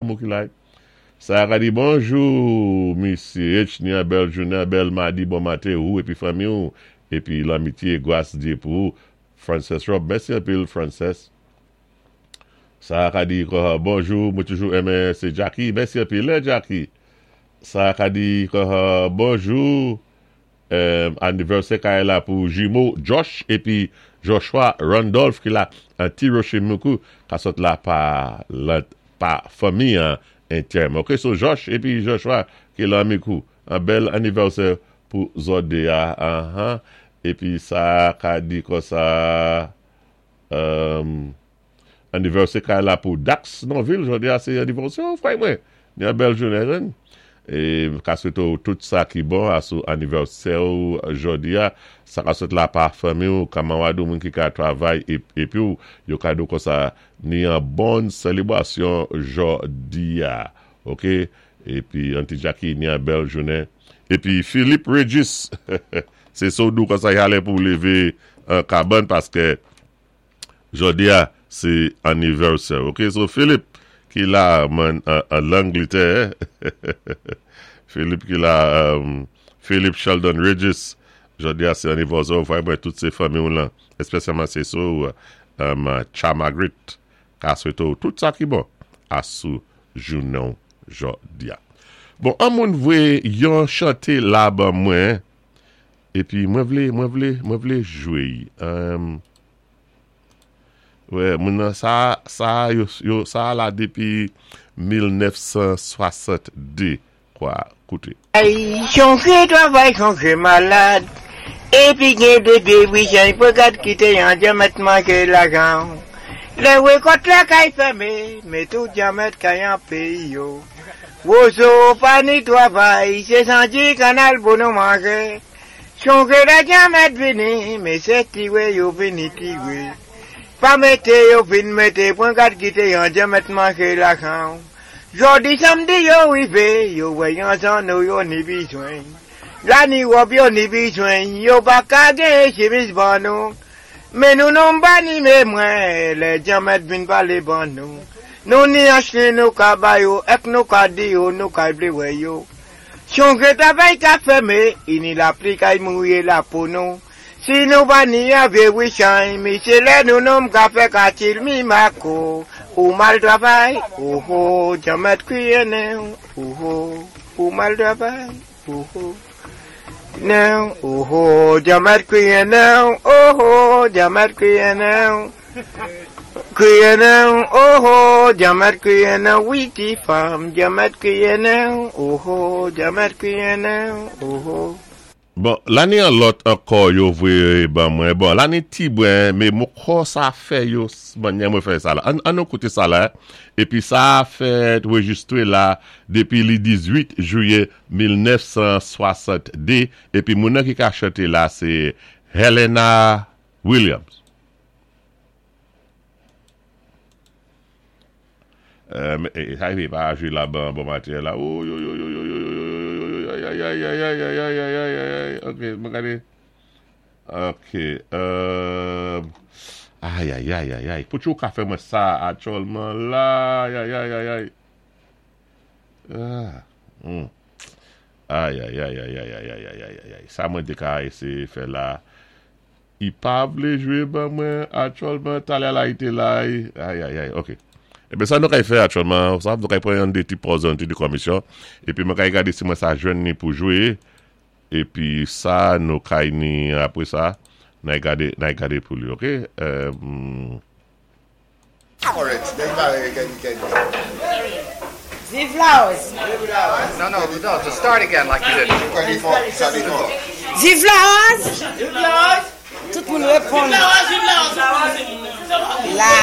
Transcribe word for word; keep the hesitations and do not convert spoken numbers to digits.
mo ki la. Sa ka di bonjou, Misyé H, ni an bèl jounen, bèl madi, bon maten ou, épi fanmi ou, épi lanmitié, gwas Diyé pou ou, Frances Rob, mèsi anpil, Frances. Sa ka di, bonjou, mwen toujou enmen, sé Jackie, mèsi anpil, eh, Jackie. Sa ka di, bonjou, anivèsè kay la pou jimo Josh, épi Joshua Randolph ki la, an Ti Roché Micoud, ka sot la pa, pa fanmi an, entèm. Ok, so Josh épi Joshua ki la Micoud, an bèl anivèsè pou zòt dé a, uh-huh. Épi sa ka di konsa, um, anivèsè kay la pou Dax Norville, jòdi a sé anivèsè ou frè mwen. Ni an bèl jounen jen. É ka swété ou tout sa ki bon asou anivèsè ou jòdi a, sa ka sot la pa fanmi ou, kamarad ou moun ki ka travay épi ou, yo ka di ou konsa ni an bon selebrasyon jòdi a. Ok, épi Auntie Jackie ni an bèl jounen. Épi Philippe Regis, sé so dou konsa yalè pou lévé an kabann paské jòdi a sé anivèsè. Ok, so Philippe ki la man an Langletè, Philippe ki la, um, Philippe Sheldon Regis, jòdi a sé anivèsè ou frè mwen tout sé fanmi ou lan, espesyalman sé so um, Cha Margaret, ka swété ou tout sa ki bon asou jounen jòdi a. Bon, an moun vwé yon chanté la ban mwen, épi mwen vlé, mwen vlé, mwen vlé jwé. Um, wè, moun nan sa, sa, yo, yo, sa la dépi mil nèf san swasant-dé, kwa, kouté. Chonjé travay, chonjé malad. Épi gen bébé, wi, jan pou gad kité yon dyanmèt manjé lajan. Lè wékòt la kay fèmé, mé tout dyanmèt kay an péyi yo. Wozo pa ni travay, sé sandi kannal pou nou manjé. Chonjé la dyanmèt vini, mé sé tiwé yo vini tiwé. Pa mété yo vin mété, pwan gad kité yon dyanmèt manjé lajan. Jòdi samdi yo wivé, yo wè yon zanno yo ni bizwen. La ni wòb yo ni bizwen, yo pa ka gen chimiz ban nou. Mé nou non pa ni mé mwen, lè dyanmèt vin palé ban nou. Nou ni achné nou ka ba yo, èk nou ka di yo, nou ka vlé wè yo. Chonjé travay ka fèmé, ini lapli kay mouyé la pou nou. Si nou pa ni avé wichay, mi sé lè nou nonm ka fè katil mi mako. Ou mal travay, oh oh, dyanmèt kwiyé nen, oh oh, ou mal travay, oh oh. Nen, oh oh, dyanmèt kwiyé nen, oh oh, dyanmèt kwiyé nen. Kwiyé nen, oh oh, dyanmèt kwiyé nen, wi ti fanm, dyanmèt kwiyé nen, oh oh, dyanmèt kwiyé nen, oh oh. Bon, la ni an lòt ankò yo vwé ban mwen. Bon, la ni ti bwen, mé mwen kwè sa fè yo mannyè mwen fè sa la. An, an nou kouté sa la, épi sa fèt rejistwé la dépi li dizuit jwiyé mil nèf san swasant-dé, épi moun nan ki ka chanté la sé Helena Williams. Euh, sa y pa jwé la ban bon maten la. Ouh, yo, yo, yo, yo, yo, yo, yo, yo, yo, ay, ay, ay, ay, ay, ay, ay, ay, ay, ay, ay. Ok, mwen gade. Ok. Euh, ay, ay, ay, ay, ay. Pou ou ka fè mwen sa aktyèlman la. Ay, ay, ay, ay, ay. Ah, hmm. Ay, ay, ay, ay, ay, ay, ay, ay, ay, ay. Sa mwen té ka éséyé fè la. I pa vlé jwé ban mwen aktyèlman. Talè la ité la. Ay, ay, ay, ok. Eben sa nou kay fè aktyèlman, sa nou kay pran yon dé ti pòz, yon ti di komisyon, épi mwen kay gade si mwen sa jwenn ni pou jwé, épi sa nou kay ni apwé sa, nay gade, nay gade pou li, ok? Um, Alright, then uh, can, can, Viv Larose. No, no, no, to start again like you did. twenty-four, seventy-four. Viv Larose. Tout moun réponn. La.